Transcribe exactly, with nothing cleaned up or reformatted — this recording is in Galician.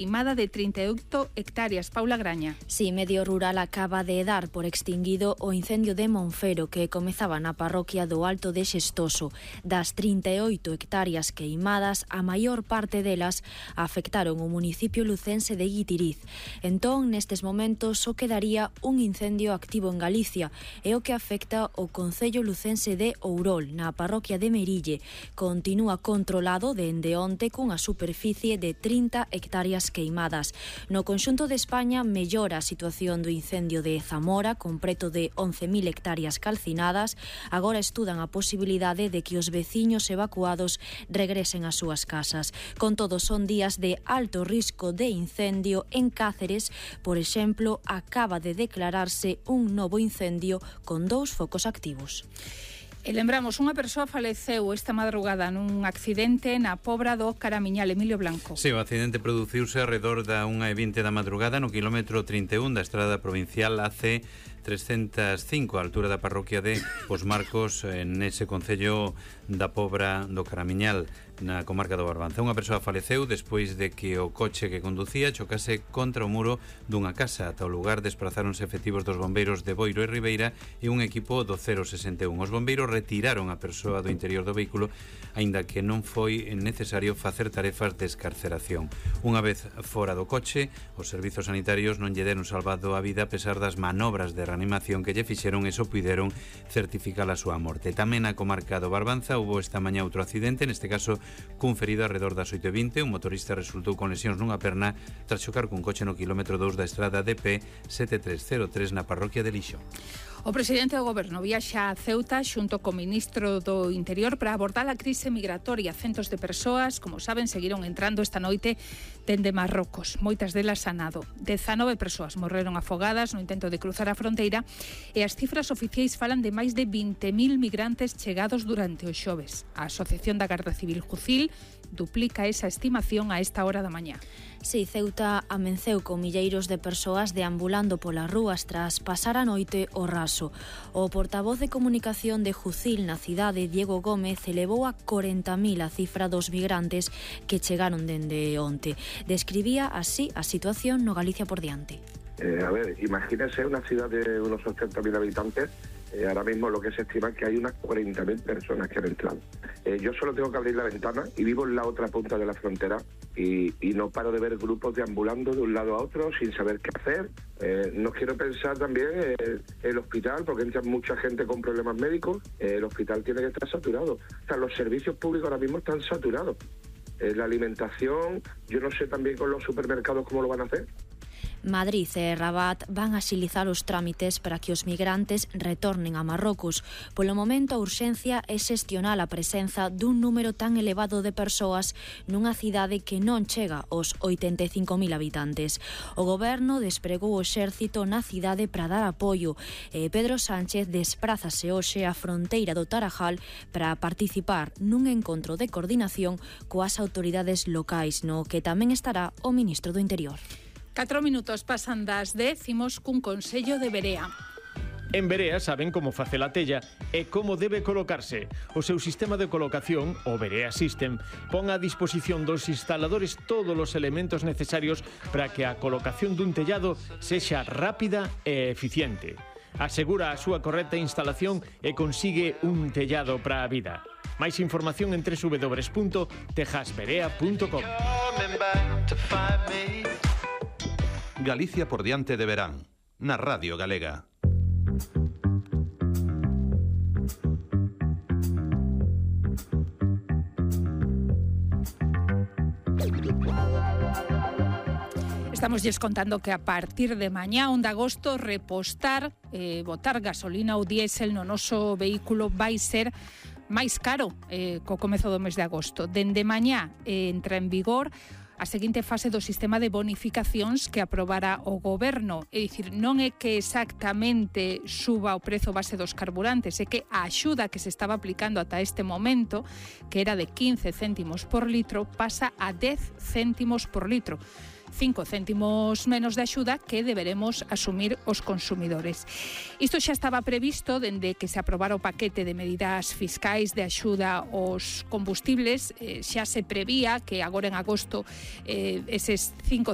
queimada de trinta e oito hectáreas. Paula Graña. Sí, Medio Rural acaba de dar por extinguido o incendio de Monfero que comezaba na parroquia do Alto de Xestoso. Das trinta e oito hectáreas queimadas, a maior parte delas afectaron o municipio lucense de Guitiriz. Entón, nestes momentos, só quedaría un incendio activo en Galicia e o que afecta o concello lucense de Ourol, na parroquia de Merille. Continúa controlado dende onte cunha superficie de trinta hectáreas queimadas. No conxunto de España mellora a situación do incendio de Zamora, con preto de once mil hectáreas calcinadas. Agora estudan a posibilidade de que os veciños evacuados regresen ás súas casas. Con todo, son días de alto risco de incendio en Cáceres. Por exemplo, acaba de declararse un novo incendio con dous focos activos. E lembramos, unha persoa faleceu esta madrugada nun accidente na Pobra do Caramiñal. Emilio Blanco. Sí, o accidente produciuse alrededor da unha e vinte da madrugada no quilómetro trinta e un da estrada provincial A C trescentos e cinco, a altura da parroquia de Os Marcos, nese concello da Pobra do Caramiñal, na comarca do Barbanza. Unha persoa faleceu despois de que o coche que conducía chocase contra o muro dunha casa. Ata o lugar desprazáronse efectivos dos bombeiros de Boiro e Ribeira e un equipo do cero sesenta e un. Os bombeiros retiraron a persoa do interior do vehículo, aínda que non foi necesario facer tarefas de escarceración. Unha vez fora do coche, os servizos sanitarios non lle deron salvado a vida a pesar das manobras de reanimación que lle fixeron e só puideron certificar a súa morte. Tamén na comarca do Barbanza houbo esta mañá outro accidente, neste caso cun ferido alrededor das oito e vinte. Un motorista resultou con lesións nunha perna tras chocar cun coche no quilómetro dous da estrada D P sete tres cero tres na parroquia de Lixo. O presidente do Goberno viaxa a Ceuta xunto co ministro do Interior para abordar a crise migratoria. Centos de persoas, como saben, seguiron entrando esta noite dende Marrocos, moitas delas a nado. dezanove persoas morreron afogadas no intento de cruzar a fronteira e as cifras oficiais falan de máis de vinte mil migrantes chegados durante os xoves. A Asociación da Garda Civil Jucil duplica esa estimación a esta hora da mañá. Si, Ceuta amenceu con milleiros de persoas deambulando polas rúas tras pasar a noite o raso. O portavoz de comunicación de Jucil na cidade, Diego Gómez, elevou a corenta mil a cifra dos migrantes que chegaron dende onte. Describía así a situación no Galicia por diante. Eh, a ver, imagínense una ciudad de unos ochenta mil habitantes. Eh, ahora mismo lo que se estima es que hay unas cuarenta mil personas que han entrado. Eh, yo solo tengo que abrir la ventana y vivo en la otra punta de la frontera y, y no paro de ver grupos deambulando de un lado a otro sin saber qué hacer. Eh, no quiero pensar también eh, el hospital, porque entra mucha gente con problemas médicos. Eh, el hospital tiene que estar saturado. O sea, los servicios públicos ahora mismo están saturados. Eh, la alimentación, yo no sé también con los supermercados cómo lo van a hacer. Madrid e Rabat van axilizar os trámites para que os migrantes retornen a Marrocos. Polo momento, a urxencia é xestionar a presenza dun número tan elevado de persoas nunha cidade que non chega aos oitenta e cinco mil habitantes. O goberno despregou o exército na cidade para dar apoio e Pedro Sánchez desprázase hoxe á fronteira do Tarajal para participar nun encontro de coordinación coas autoridades locais, no que tamén estará o ministro do Interior. Catro minutos pasan das dez, imos cun consello de Berea. En Berea saben como facer a tella e como debe colocarse. O seu sistema de colocación, o Berea System, pon a disposición dos instaladores todos os elementos necesarios para que a colocación dun tellado sexa rápida e eficiente. Asegura a súa correcta instalación e consigue un tellado para a vida. Máis información en doble u doble u doble u punto tejasberea punto com. Galicia por diante de verán, na Radio Galega. Estamos lles contando que a partir de mañá, onde de agosto, repostar, eh, botar gasolina ou diésel no noso vehículo vai ser máis caro eh, co comezo do mes de agosto. Dende mañá eh, entra en vigor a seguinte fase do sistema de bonificacións que aprobara o Goberno. É dicir, non é que exactamente suba o prezo base dos carburantes, é que a axuda que se estaba aplicando ata este momento, que era de quince céntimos por litro, pasa a dez céntimos por litro. cinco céntimos menos de axuda que deberemos asumir os consumidores. Isto xa estaba previsto dende que se aprobara o paquete de medidas fiscais de axuda aos combustibles. Eh, xa se prevía que agora en agosto eh, eses cinco